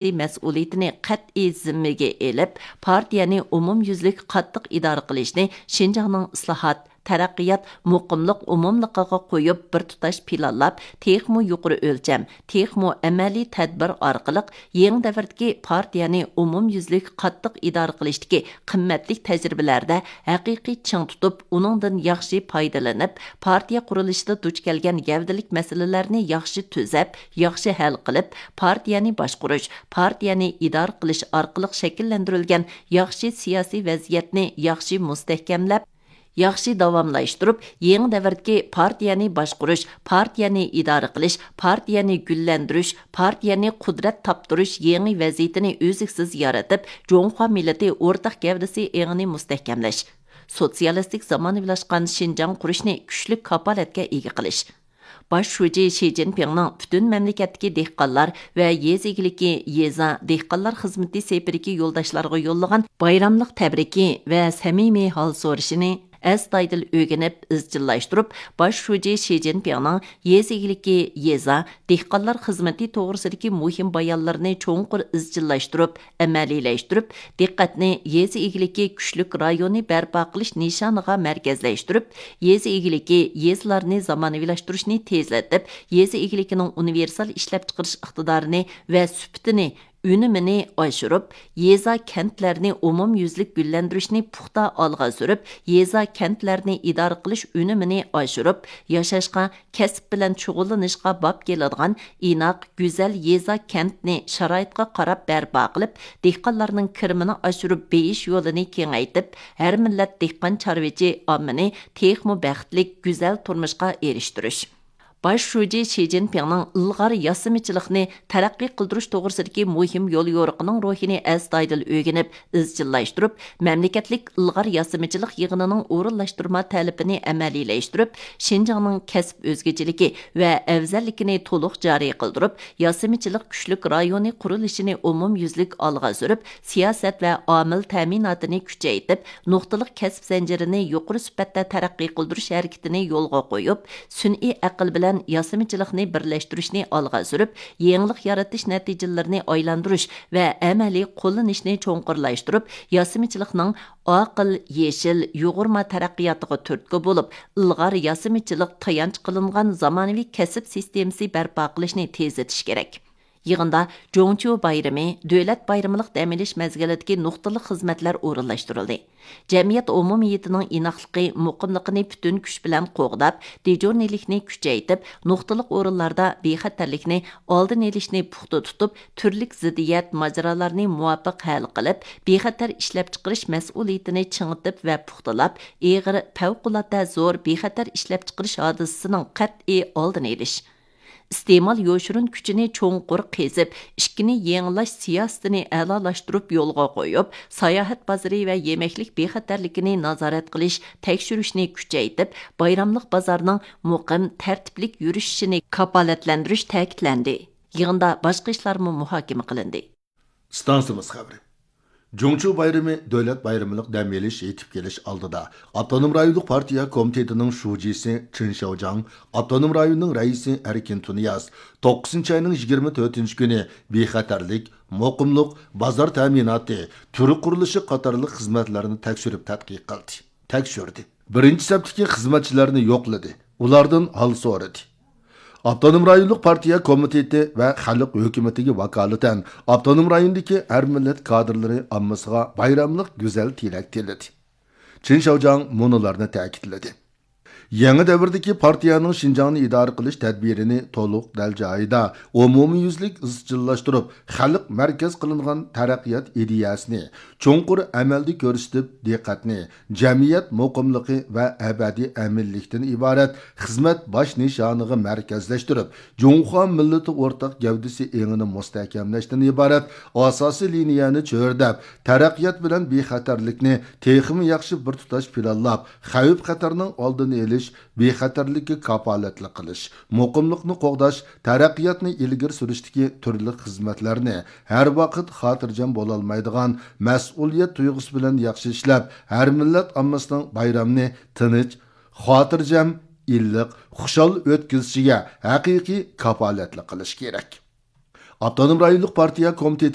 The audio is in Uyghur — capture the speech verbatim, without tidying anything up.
مەسئۇلىيىتىنى قەتئىي زىممىگە ئېلىپ، پارتىيەنى ئومۇميۈزلۈك قاتتىق ئىدارە قىلىشنى شىنجاڭنىڭ ئىسلاھات، تەرەققىيات، مۇقىملىق ئومۇملۇقىغا قويۇپ، بىر تۇتاش پىلانلاپ، تېخىمۇ يۇقىرى ئۆلچەم، تېخىمۇ ئەمەلىي تەدبىر ئارقىلىق يېڭى دەۋردىكى پارتىيەنى ئومۇميۈزلۈك قاتتىق ئىدارە قىلىشتىكى قىممەتلىك تەجرىبىلەردە ھەقىقىي چىڭ تۇتۇپ، ئۇنىڭدىن ياخشى پايدىلىنىپ، پارتىيە قۇرۇلۇشىدا دۇچ كەلگەن گەۋدىلىك مەسىلىلەرنى ياخشى تۈزەپ، ياخشى ھەل قىلىپ، پارتىيەنى باشقۇرۇش، پارتىيەنى ئىدارە قىلىش ئارقىلىق شەكىللەندۈرۈلگەن ياخشى سىياسىي ۋەزىيەتنى ياخشى مۇستەھكەملەپ، ياخشى داۋاملاشتۇرۇپ، يېڭى دەۋردىكى پارتىيەنى باشقۇرۇش، پارتىيەنى ئىدارە قىلىش، پارتىيەنى گۈللەندۈرۈش، پارتىيەنى قۇدرەت تاپتۇرۇش يېڭى ۋەزىيىتىنى ئۈزلۈكسىز يارىتىپ، جۇڭخۇا مىللىتى ئورتاق گەۋدىسى ئېڭىنى مۇستەھكەملەش، سوتسىيالىستىك زامانىۋىلاشقان شىنجاڭ قۇرۇشنى كۈچلۈك كاپالەتكە ئىگە قىلىش. باش شۇجى شى جىنپىڭنىڭ پۈتۈن مەملىكەتتىكى دېھقانلار ۋە يېزا ئىگىلىكى، يېزا، دېھقانلار خىزمىتى سېپىدىكى يولداشلارغا يوللىغان بايراملىق تەبرىكى ۋە سەمىمىي ھال سورىشىنى ئەستايىدىل ئۆگىنىپ ئىزچىللاشتۇرۇپ، باش شۇجى شى جىنپىڭنىڭ يېزا ئىگىلىكى، يېزا، دېھقانلار خىزمىتى توغرىسىدىكى مۇھىم بايانلىرىنى چوڭقۇر ئىزچىللاشتۇرۇپ، ئەمەلىيلەشتۈرۈپ، دىققەتنى يېزا ئىگىلىكى كۈچلۈك رايونى بەرپا قىلىش نىشانىغا مەركەزلەشتۈرۈپ، يېزا ئىگىلىكى، يېزىلارنى زامانىۋىلاشتۇرۇشنى تېزلىتىپ، يېزا ئىگىلىكىنىڭ ئۇنىۋېرسال ئىشلەپچىقىرىش ئىقتىدارىنى ۋە سۈپىتىنى، ئۈنۈمىنى ئاشۇرۇپ، يېزا، كەنتلەرنى ئومۇميۈزلۈك گۈللەندۈرۈشنى پۇختا ئالغا سۈرۈپ، يېزا، كەنتلەرنى ئىدارە قىلىش ئۈنۈمىنى ئاشۇرۇپ، ياشاشقا، كەسىپ بىلەن شۇغۇللىنىشقا باب كېلىدىغان ئىناق، گۈزەل يېزا، كەنتنى شارائىتقا قاراپ بەرپا قىلىپ، دېھقانلارنىڭ كىرىمىنى ئاشۇرۇپ بېيىش يولىنى كېڭەيتىپ، ھەر مىللەت دېھقان، چارۋىچى ئاممىنى تېخىمۇ بەختلىك، گۈزەل تۇرمۇشقا ئېرىشتۈرۈش. باش شۇجى شى جىنپىڭنىڭ ئىلغار ياسىمىچىلىقنى تەرەققىي قىلدۇرۇش توغرىسىدىكى مۇھىم يوليورۇقىنىڭ روھىنى ئەستايىدىل ئۆگىنىپ، ئىزچىللاشتۇرۇپ، مەملىكەتلىك ئىلغار ياسىمىچىلىق يىغىنىنىڭ ئورۇنلاشتۇرما تەلىپىنى ئەمەلىيلەشتۈرۈپ، شىنجاڭنىڭ كەسىپ ئۆزگىچىلىكى ۋە ئەۋزەللىكىنى تولۇق جارى قىلدۇرۇپ، ياسىمىچىلىق كۈچلۈك رايونى قۇرۇلۇشىنى ئومۇميۈزلۈك ئالغا سۈرۈپ، سىياسەت ۋە ئامىل تەمىناتىنى كۈچەيتىپ، نۇقتىلىق كەسىپ زەنجىرىنى يۇقىرى سۈپەتتە تەرەققىي قىلدۇرۇش ھەرىكىتىنى يولغا قويۇپ، سۈنئىي ئەقىل بىلەن ياسىمىچىلىقنى بىرلەشتۈرۈشنى ئالغا سۈرۈپ، يېڭىلىق يارىتىش نەتىجىلىرىنى ئايلاندۇرۇش ۋە ئەمەلىي قوللىنىشنى چوڭقۇرلاشتۇرۇپ، ياسىمىچىلىقنىڭ ئاقىل، يېشىل، يۇغۇرما تەرەققىياتىغا تۈرتكە بولۇپ، ئىلغار ياسىمىچىلىق تايانچ قىلىنغان زامانىۋى كەسىپ سىستېمىسى بەرپا قىلىشنى تېزلىتىش كېرەك. يىغىندا جۇڭچيۇ بايرىمى، دۆلەت بايرىمىلىق دەم ئېلىش مەزگىلىدىكى نۇقتىلىق خىزمەتلەر ئورۇنلاشتۇرۇلدى. جەمئىيەت ئومۇمىيىتىنىڭ ئىناقلىقى، مۇقىملىقىنى پۈتۈن كۈچ بىلەن قوغداپ، دېجۇرنىلىكنى كۈچەيتىپ، نۇقتىلىق ئورۇنلاردا بىخەتەرلىكنى، ئالدىنى ئېلىشنى پۇختا تۇتۇپ، تۈرلۈك زىددىيەت، ماجىرالارنى مۇۋاپىق ھەل قىلىپ، بىخەتەر ئىشلەپچىقىرىش مەسئۇلىيىتىنى چىڭىتىپ ۋە پۇختىلاپ، ئېغىر، پەۋقۇلئاددە زور بىخەتەر ئىشلەپچىقىرىش ھادىسىسىنىڭ قەتئىي ئالدىنى ئېلىش. ئىستېمال يوشۇرۇن كۈچىنى چوڭقۇر قېزىپ، ئىككىنى يېڭىلاش سىياسىتىنى ئەلالاشتۇرۇپ يولغا قويۇپ، ساياھەت بازىرى ۋە يېمەكلىك بىخەتەرلىكىنى نازارەت قىلىش، تەكشۈرۈشنى كۈچەيتىپ، بايراملىق بازارنىڭ مۇقىم، تەرتىپلىك يۈرۈشۈشىنى كاپالەتلەندۈرۈش تەكىتلەندى. يىغىندا باشقا ئىشلارمۇ مۇھاكىمە قىلىندى. ئىستانسىمىز خەۋىرى. جۇڭچيۇ بايرىمى دۆلەت بايرىمىلىق دەم ئېلىش يېتىپ كېلىش ئالدىدا، ئاپتونوم رايونلۇق پارتىيە كومىتېتىنىڭ شۇجىسى چېن شياۋجياڭ ئاپتونوم رايوننىڭ رەئىسى ئەركىن تۇنىياز توققۇزىنچى ئاينىڭ يىگىرمە تۆتىنچى كۈنى بىخەتەرلىك، مۇقىملىق، بازار تەمىناتى، تۈر قۇرۇلۇشى قاتارلىق خىزمەتلەرنى تەكشۈرۈپ تەتقىق قىلدى، تەكشۈردى. بىرىنچى سەپتىكى خىزمەتچىلەرنى يوقلىدى، ئۇلاردىن ھال سورىدى. ئاپتونوم رايونلۇق پارتىيە كومىتېتى ۋە خەلق ھۆكۈمىتىگە ۋاكالىتەن ئاپتونوم رايوندىكى ھەر مىللەت كادىرلىرى ئاممىسىغا بايراملىق گۈزەل تىلەك تىلىدى. چېن شياۋجياڭ مۇنۇلارنى تەكىتلىدى. يېڭى دەۋردىكى پارتىيەنىڭ شىنجاڭنى ئىدارە قىلىش تەدبىرىنى تولۇق دەل جايىدا، ئومۇميۈزلۈك ئىزچىللاشتۇرۇپ، خەلق مەركەز قىلىنغان تەرەققىيات ئىدىيەسىنى چوڭقۇر ئەمەلدە كۆرسىتىپ، دىققەتنى جەمئىيەت مۇقىملىقى ۋە ئەبەدىي ئەمىنلىكتىن ئىبارەت خىزمەت باش نىشانىغا مەركەزلەشتۈرۈپ، جۇڭخۇا مىللىتى ئورتاق گەۋدىسى ئېڭىنى مۇستەھكەملەشتىن ئىبارەت ئاساسىي لىنىيەنى چۆرىدەپ، تەرەققىيات بىلەن بىخەتەرلىكنى تېخىمۇ ياخشى بىر تۇتاش پىلانلاپ، خەۋپ-خەتەرنىڭ ئالدىنى ئېلىش، بىخەتەرلىككە كاپالەتلىك قىلىش، مۇقىملىقنى قوغداش، تەرەققىياتنى ئىلگىرى سۈرۈشتىكى تۈرلۈك خىزمەتلەرنى ھەر ۋاقىت خاتىرجەم بولالمايدىغان مەسئۇلىيەت تۇيغۇسى بىلەن ياخشى ئىشلەپ، ھەر مىللەت ئاممىسىنىڭ بايرامنى تىنچ، خاتىرجەم، ئىللىق، خۇشال ئۆتكۈزۈشىگە ھەقىقىي كاپالەتلىك قىلىش كېرەك. ئاپتونوم رايونلۇق پارتىيە كومىتېتى